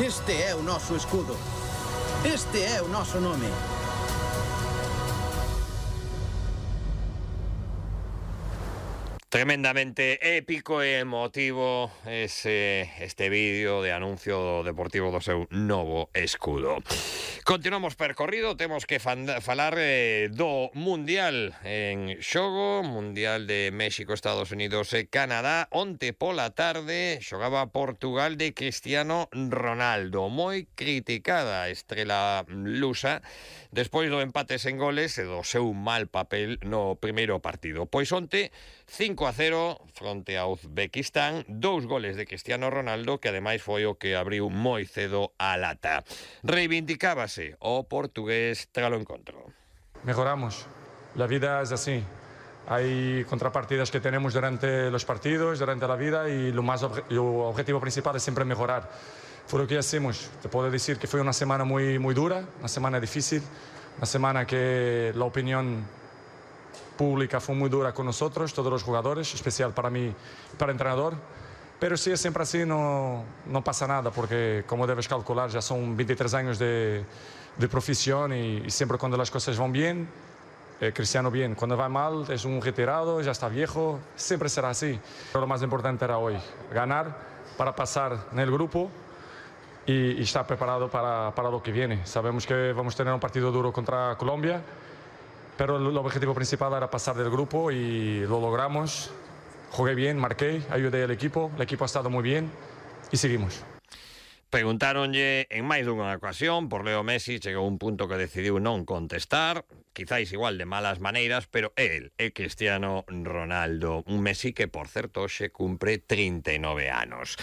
Este é o noso escudo. Este é o noso nome. Tremendamente épico e emotivo este vídeo de anuncio deportivo do seu novo escudo. Continuamos percorrido, temos que falar do Mundial en xogo, Mundial de México, Estados Unidos e Canadá. Onte pola tarde xogaba Portugal de Cristiano Ronaldo, moi criticada a estrela lusa despois do empate sen goles e do seu mal papel no primeiro partido. Pois onte 5-0 fronte a Uzbekistán, 2 goles de Cristiano Ronaldo, que ademais foi o que abriu moi cedo a lata. Reivindicábase o portugués tras o encontro. Mejoramos. La vida es así. Hay contrapartidas que tenemos durante los partidos, durante la vida, y lo objetivo principal es siempre mejorar. Fue lo que hacemos. Te puedo decir que fue una semana muy dura, una semana difícil, una semana que la opinión pública fue muy dura con nosotros, todos los jugadores, especial para mí, para el entrenador. Pero si es siempre así, no pasa nada, porque como debes calcular, ya son 23 años de profesión y siempre cuando las cosas van bien, Cristiano bien. Cuando va mal, es un retirado, ya está viejo, siempre será así. Pero lo más importante era hoy, ganar para pasar en el grupo y estar preparado para lo que viene. Sabemos que vamos a tener un partido duro contra Colombia, pero el objetivo principal era pasar del grupo y lo logramos. Jugué bien, marqué, ayudé al equipo, el equipo ha estado muy bien y seguimos. Preguntáronlle en máis dunha ocasión por Leo Messi, chegou un punto que decidiu non contestar, quizáis igual de malas maneiras, pero él é Cristiano Ronaldo, un Messi que, por certo, hoxe cumpre 39 anos.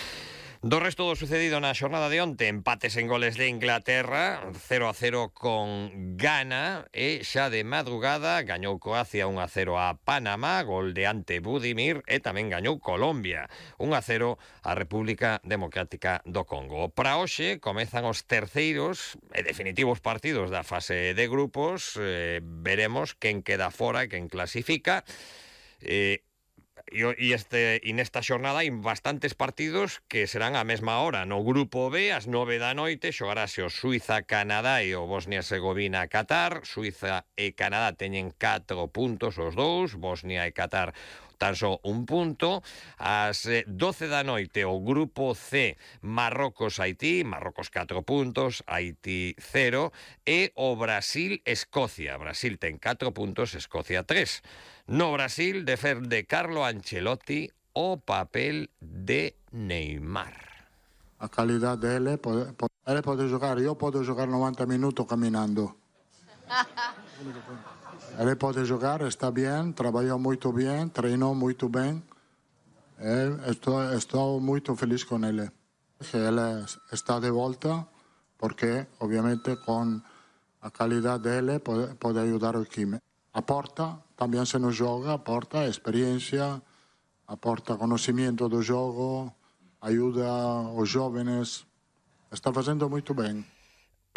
Do resto do sucedido na xornada de onte, empates en goles de Inglaterra, 0-0 con Ghana, e xa de madrugada gañou Croacia 1-0 a Panamá, gol de Ante Budimir, e tamén gañou Colombia 1-0 a República Democrática do Congo. Para hoxe comezan os terceiros e definitivos partidos da fase de grupos, veremos quen queda fora e quen clasifica. E nesta xornada hai bastantes partidos que serán á mesma hora. No grupo B, ás 9 da noite, xogarase o Suiza-Canadá e o Bosnia-Herzegovina-Qatar. Suiza e Canadá teñen 4 puntos os dous, Bosnia e Qatar tan só un punto. Ás 12 da noite o grupo C, Marrocos-Haití, Marrocos 4 puntos, Haití 0, e o Brasil-Escocia. Brasil ten 4 puntos, Escocia 3. No Brasil defende Carlo Ancelotti o papel de Neymar. A calidad de él puede jugar, yo puedo jugar 90 minutos caminando. Él puede jugar, está bien, trabajó muy bien, entrenó muy bien. Estoy muy feliz con él. Él está de vuelta porque obviamente con la calidad de él puede ayudar al equipo. Aporta, también se nos juega, aporta experiencia, aporta conocimiento del juego, ayuda a los jóvenes. Está haciendo muy bien.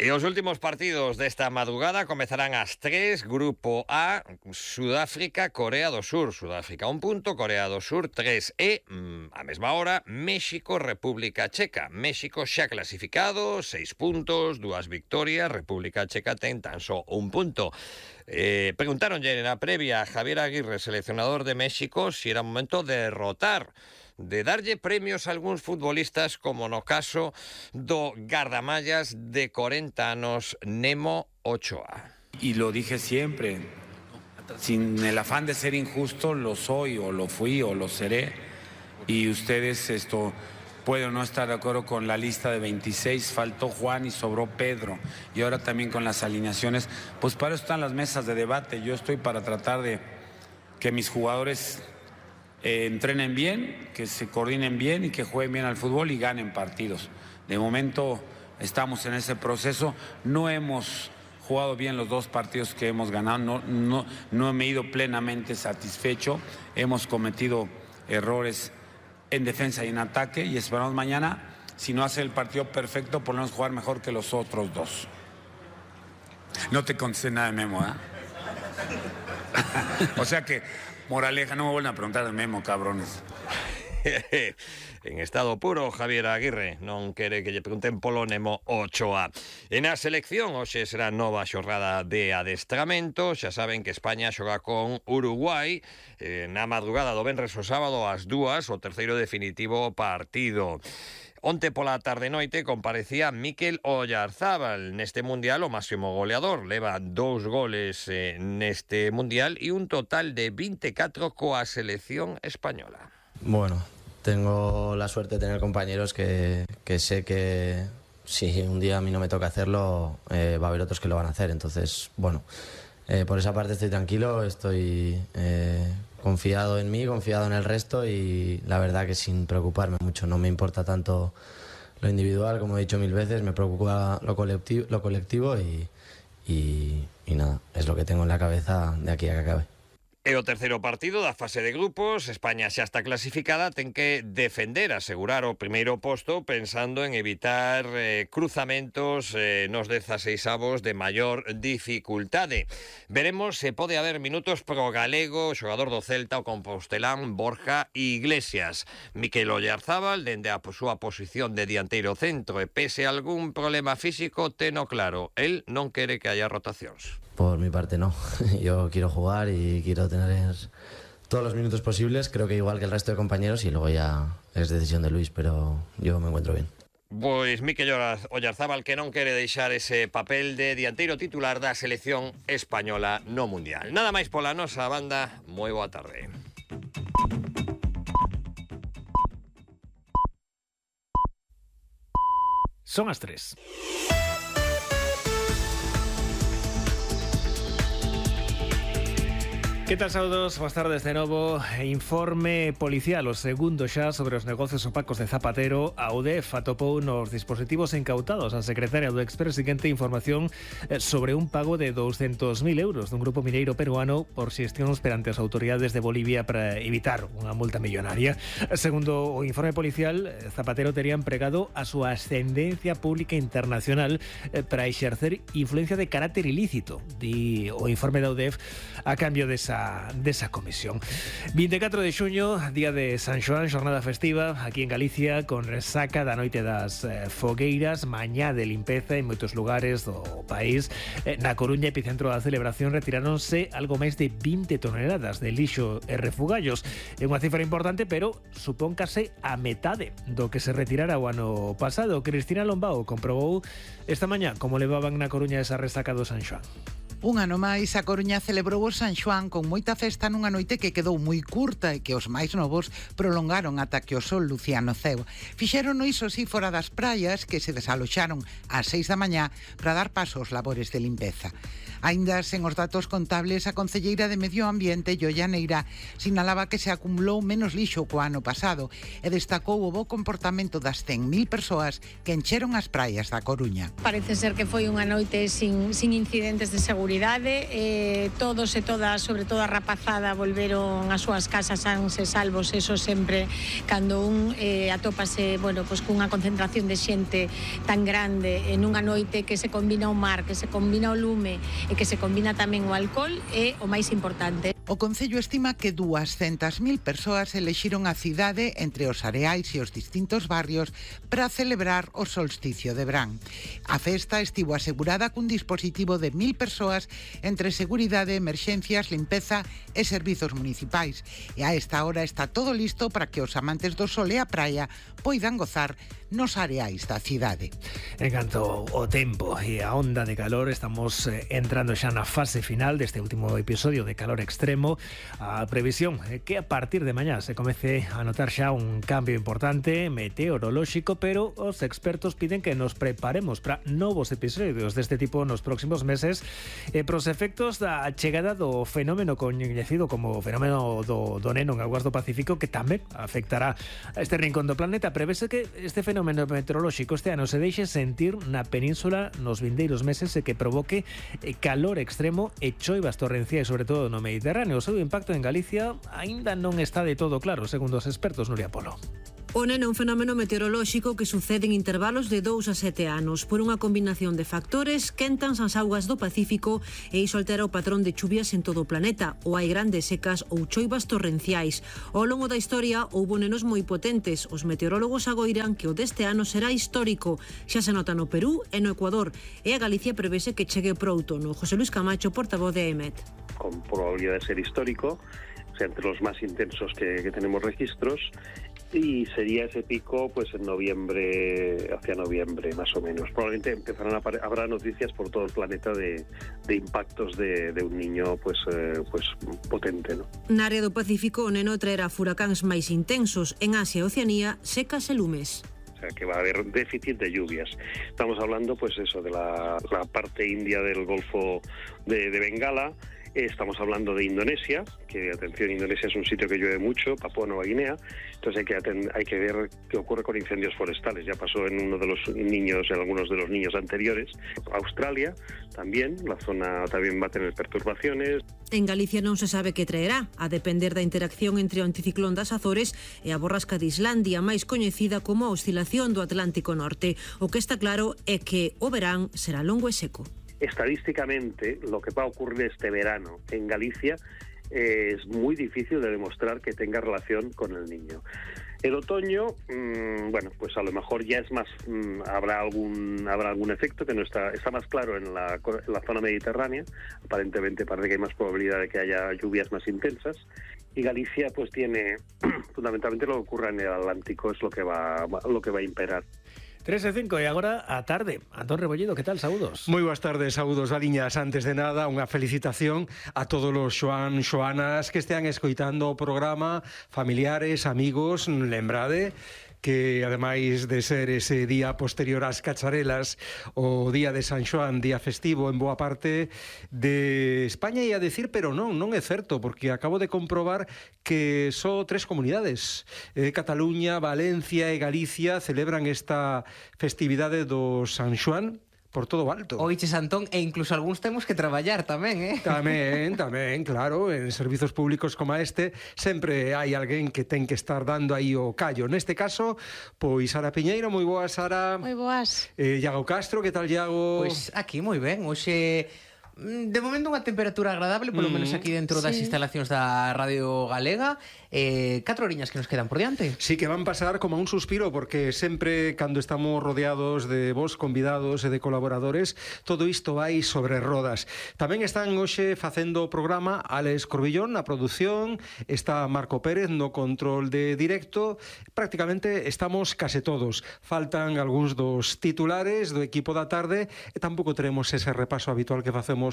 E os últimos partidos desta madrugada comezarán ás 3, Grupo A, Sudáfrica, Corea do Sur. Sudáfrica 1 punto, Corea do Sur 3. E, a mesma hora, México, República Checa. México xa clasificado, 6 puntos, 2 victorias. República Checa ten tan só 1 punto. Preguntáronlle na previa a Javier Aguirre, seleccionador de México, si era momento de derrotar, de darlle premios a algúns futbolistas, como no caso do gardamallas de 40 anos Nemo Ochoa. Y lo dije siempre, sin el afán de ser injusto, lo soy o lo fui o lo seré. Y ustedes pueden no estar de acuerdo con la lista de 26, faltó Juan y sobró Pedro. Y ahora también con las alineaciones, pues para eso están las mesas de debate. Yo estoy para tratar de que mis jugadores entrenen bien, que se coordinen bien y que jueguen bien al fútbol y ganen partidos. De momento estamos en ese proceso. No hemos jugado bien los 2 partidos que hemos ganado, no me he ido plenamente satisfecho. Hemos cometido errores en defensa y en ataque y esperamos mañana, si no hace el partido perfecto, por lo menos jugar mejor que los otros 2. No te contesté nada de Memo, ¿eh? O sea que, moraleja, no me vuelvan a preguntar de Memo, cabrones. en estado puro, Javier Aguirre. Non quere que lle pregunten polo Nemo Ochoa. E na selección, hoxe será nova xornada de adestramento. Xa saben que España xoga con Uruguai na madrugada do venres o sábado ás 2, o terceiro definitivo partido. Onte pola tarde-noite comparecía Mikel Oyarzábal neste Mundial, o máximo goleador. Leva 2 goles neste Mundial e un total de 24 coa selección española. Bueno, tengo la suerte de tener compañeros que sé que si un día a mí no me toca hacerlo, va a haber otros que lo van a hacer. Entonces, bueno, por esa parte estoy tranquilo, estoy confiado en mí, confiado en el resto y la verdad que sin preocuparme mucho. No me importa tanto lo individual, como he dicho 1000 veces, me preocupa lo colectivo y nada, es lo que tengo en la cabeza de aquí a que acabe. E o terceiro partido da fase de grupos, España xa está clasificada, ten que defender, asegurar o primeiro posto pensando en evitar cruzamentos nos 16avos de maior dificultade. Veremos se pode haber minutos pro galego, xogador do Celta, o compostelán Borja Iglesias. Mikel Oyarzábal, dende a súa posición de dianteiro centro e pese a algún problema físico, teno claro, el non quere que haya rotacións. Por mi parte no, yo quiero jugar y quiero tener todos los minutos posibles, creo que igual que el resto de compañeros y luego ya es decisión de Luis, pero yo me encuentro bien. Pois Mikel Oyarzábal que non quere deixar ese papel de dianteiro titular da selección española no Mundial. Nada máis pola nosa banda, moi boa tarde. Son as 3. Que tal, saúdos? Boas tardes de novo. Informe policial, o segundo xa sobre os negocios opacos de Zapatero. A UDEF atopou nos dispositivos incautados a secretaria do expresidente información sobre un pago de 200.000 euros dun grupo mineiro peruano por xestións perante as autoridades de Bolivia para evitar unha multa millonaria. Segundo o informe policial, Zapatero tería empregado a súa ascendencia pública internacional para exercer influencia de carácter ilícito, di o informe da UDEF, a cambio desa comisión. 24 de xuño, día de San Xoán, xornada festiva aquí en Galicia, con resaca da noite das fogueiras, mañá de limpeza en moitos lugares do país. Na Coruña, epicentro da celebración, retiráronse algo máis de 20 toneladas de lixo e refugallos. É unha cifra importante, pero supón case a metade do que se retirara o ano pasado. Cristina Lombao comprobou esta mañá como levaban na Coruña esa resaca do San Xoán. Un ano máis, a Coruña celebrou o San Xoán con moita festa nunha noite que quedou moi curta e que os máis novos prolongaron ata que o sol lucía no ceo. Fixeron iso sí fora das praias, que se desaloxaron ás 6 da mañá para dar paso aos labores de limpeza. Aínda sen os datos contables, a concelleira de Medio Ambiente, Yoya Neira, sinalaba que se acumulou menos lixo co ano pasado e destacou o bo comportamento das 100.000 persoas que encheron as praias da Coruña. Parece ser que foi unha noite sin incidentes de seguridade, todos e todas, sobre todo a rapazada, volveron ás súas casas sans e salvos. Eso sempre, cando un atópase, bueno, pues cunha concentración de xente tan grande en unha noite que se combina o mar, que se combina o lume e que se combina tamén o alcohol, é o máis importante. O Concello estima que 200.000 persoas elixiron a cidade entre os areais e os distintos barrios para celebrar o solsticio de verán. A festa estivo asegurada cun dispositivo de 1.000 persoas entre seguridade, emerxencias, limpeza e servizos municipais. E a esta hora está todo listo para que os amantes do sol e a praia poidan gozar nos areais da cidade. En canto ao tempo e a onda de calor, estamos entrando xa na fase final deste último episodio de calor extremo. A previsión é que a partir de mañá se comece a notar xa un cambio importante meteorolóxico, pero os expertos piden que nos preparemos para novos episodios deste tipo nos próximos meses e pros efectos da chegada do fenómeno coñecido como fenómeno do Neno en augas do Pacífico, que tamén afectará a este rincón do planeta. Prevese que este fenómeno meteorolóxico este ano se deixe sentir na península nos vindeiros meses e que provoque calor extremo e choivas torrenciais, sobre todo no Mediterráneo. O seu impacto en Galicia aínda non está de todo claro, segundo os expertos. Nuria Polo. O neno é un fenómeno meteorolóxico que sucede en intervalos de 2 a 7 anos. Por unha combinación de factores, quentan as augas do Pacífico e iso altera o patrón de chuvias en todo o planeta. Ou hai grandes secas ou choivas torrenciais. Ao longo da historia houbo nenos moi potentes. Os meteorólogos agoiran que o deste ano será histórico. Xa se nota no Perú e no Ecuador. E a Galicia prevese que chegue pro outono. José Luis Camacho, portavoz de EMET. Con probabilidad de ser histórico, o sea, entre los más intensos que tenemos registros, y sería ese pico pues en noviembre, hacia noviembre más o menos. Probablemente habrá noticias por todo el planeta de impactos de un niño pues potente, ¿no? Na área do Pacífico o neno traerá furacáns máis intensos. En Asia e Oceanía, secas e lumes. O sea, que va a haber déficit de lluvias. Estamos hablando pues eso de la parte india del Golfo de Bengala. Estamos hablando de Indonesia, que atención, Indonesia es un sitio que llueve mucho, Papúa Nueva Guinea, entonces hay que ver qué ocurre con incendios forestales. Ya pasó en uno de los niños, en algunos de los niños anteriores. Australia también, la zona también va a tener perturbaciones. En Galicia non se sabe que traerá, a depender da interacción entre o anticiclón das Azores e a borrasca de Islandia, máis coñecida como a oscilación do Atlántico Norte. O que está claro é que o verán será longo e seco. Estadísticamente, lo que va a ocurrir este verano en Galicia es muy difícil de demostrar que tenga relación con el niño. El otoño, bueno, pues a lo mejor ya es más, habrá algún efecto que no está más claro en la zona mediterránea. Aparentemente parece que hay más probabilidad de que haya lluvias más intensas. Y Galicia pues tiene, fundamentalmente lo que ocurra en el Atlántico es lo que va a imperar. 3:05 e agora a tarde. Antón Rebolledo, que tal? Saúdos. Moi boas tardes, saúdos, Valiñas. Antes de nada, unha felicitación a todos os xoanas que estean escoitando o programa, familiares, amigos, lembrade que ademais de ser ese día posterior ás cacharelas, o día de San Xoán, día festivo en boa parte de España, e a decir, pero non é certo, porque acabo de comprobar que só 3 comunidades, Cataluña, Valencia e Galicia, celebran esta festividade do San Xoán por todo o alto. Oiches, Antón, e incluso algúns temos que traballar tamén, Tamén, claro, en servizos públicos como este sempre hai alguén que ten que estar dando aí o callo. Neste caso, pois Sara Piñeiro, moi boas, Sara. Moi boas. Iago Castro, que tal, Iago? Pois aquí moi ben, hoxe de momento unha temperatura agradable, polo menos aquí dentro das instalacións da Radio Galega. 4 horiñas que nos quedan por diante. Sí, que van pasar como un suspiro, porque sempre cando estamos rodeados de vos convidados e de colaboradores, todo isto vai sobre rodas. Tamén están hoxe facendo o programa Alex Corbillón na produción, está Marco Pérez no control de directo. Prácticamente estamos case todos. Faltan algúns dos titulares do equipo da tarde e tampouco teremos ese repaso habitual que facemos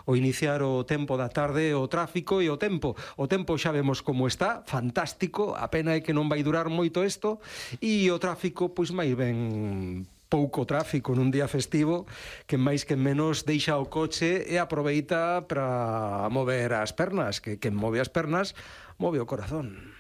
ao iniciar o tempo da tarde, o tráfico e o tempo. O tempo xa vemos como está, fantástico, a pena é que non vai durar moito isto, e o tráfico, pois máis ben pouco tráfico nun día festivo, que máis que menos deixa o coche e aproveita para mover as pernas, que quen move as pernas move o corazón.